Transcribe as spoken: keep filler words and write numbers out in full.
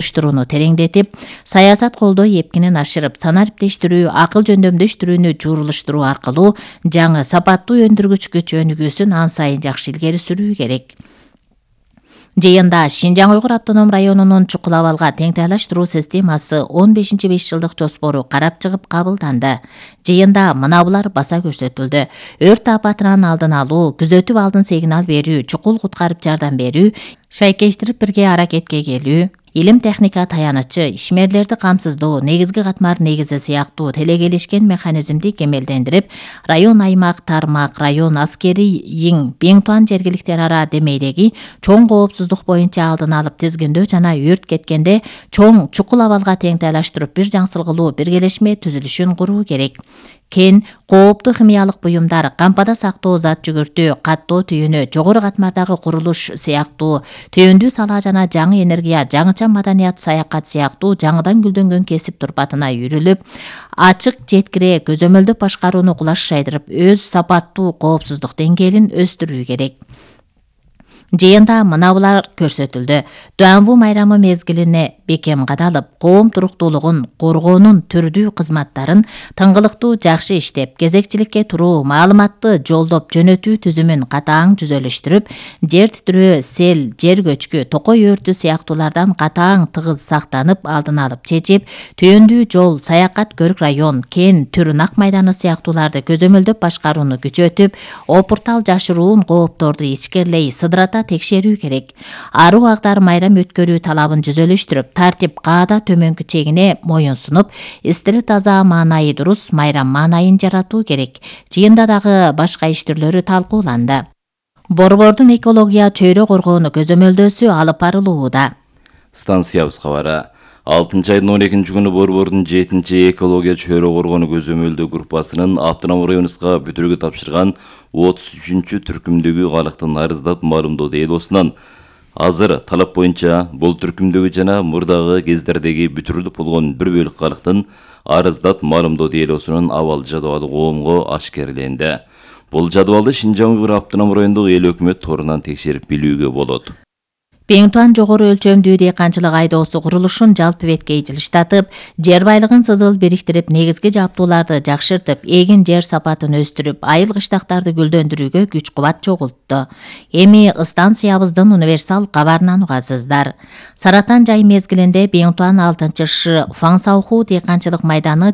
уюштурууну тереңдетип, саясат колдоо эпкинин ашырып, санариптештирүү, акыл жөндөмдөштүрүүнү жуурулуштуруу аркылуу жаңы сапаттуу өндүргүч күч өнүгүүсүн ан сайын жакшы илгери сүрүү керек. Жыйында Шинжаң Уйгур автоном районунун чукул абалга теңтайлаштыруу системасы он бешинчи беш жылдык жоспору карап чыгып кабылданды. Жыйында мына булар баса көрсөтүлдү. Өрт апатынан алдын алуу, күзөтүп алдын сигнал берүү, чукул куткарып жардам берүү, шайкештирип бирге аракетке келүү, илим техника таянычы, ишмерлерди камсыздоо, негизги катмар негизи сыяктуу телекелешкен механизмди кемелдендирип, район аймак, тармак, район аскери иң Бең-Туан жергиликтер ара демейдеги чоң коопсуздук боюнча алдын алып тизгиндөө жана өрт кеткенде чоң чукул абалга теңтайлаштырып бир жаңсылгылуу биргелешме түзүлүшүн куруу керек. Кен, кооптуу химиялык буюмдар, кампада сактоо зат жүгүртүү, каттоо түйүнү, жогору катмардагы курулуш сыяктуу, түйүндүү сала жана жаңы энергия, жаңыча маданият, саякат сыяктуу жаңыдан гүлдөнгөн кесип турпатына үйрүлүп, ачык жеткире көзөмөлдөп башкарууну кулаш жайдырып, өз сапаттуу коопсуздук деңгээлин өстүрүү керек. Жыйында мына булар көрсөтүлдү. Дуанбу майрамы мезгилине бекем кадалып, коом туруктуулугун коргоонун түрдүү кызматтарын тыңгылыктуу жакшы иштеп, кезекчиликке туруу, маалыматты жолдоп жөнөтүү түзүмүн катаң жүзөлөштүрүп, жер титирөө, сел, жер көчкү, токой өртү сыяктуулардан катаң тыгыз сактанып, алдын алып чечип, түйүндүү жол, саякат көрк район, кен, түр нак майданы сыяктууларды көзөмөлдөп башкарууну күчөтүп, опуртал жашыруун коопторду ичкерлей, сыдырата текшерүү керек. Аруу агдар майрам өткөрүү талабын жүзөлөштүрүп, тартип каада төмөнкү чегине моюн сунуп, эстели таза, маанайы дурус майрам маанайын жаратуу керек. Жыйында дагы башка иш түрлөрү талкууланды. Борбордун экология чөйрө коргоону көзөмөлдөөсү алып барылууда. Станциябыз кабары. алтынчы айдын он экинчи күнү Борбордун жетинчи экология чөйрө коргоону көзөмөлдөө группасынын автоном районубузга бүтүрүүгө тапшырган отуз үчүнчү түркүмдөгү калктын арыздат маалымдоо делосунан азыр талап боюнча бул түркүмдөгү жана мурдагы кездердеги бүтүрүлүп болгон бир бөлүк калктын арыздат маалымдоо делосунун абал жадыбалы коомго ашкерленди. Бул жадыбалды Шинжаң Уйгур автоном райондук эл өкмөт торунан текшерип билүүгө болот. Бең-Туан жогору өлчөмдүү дыйканчылык айдоосу курулушун жалпы беткей жылыштатып, жер байлыгын сызыл бириктирип, негизги жаптууларды жакшыртып, эгин жер сапатын өстүрүп, айыл кыштактарды гүлдөндүрүүгө күч-кубат чогултту. Эми станциябыздын универсал кабарынан угасыздар. Саратан жай мезгилинде Бең-Туан алтынчы Ш Фаңсауху дыйканчылык майданы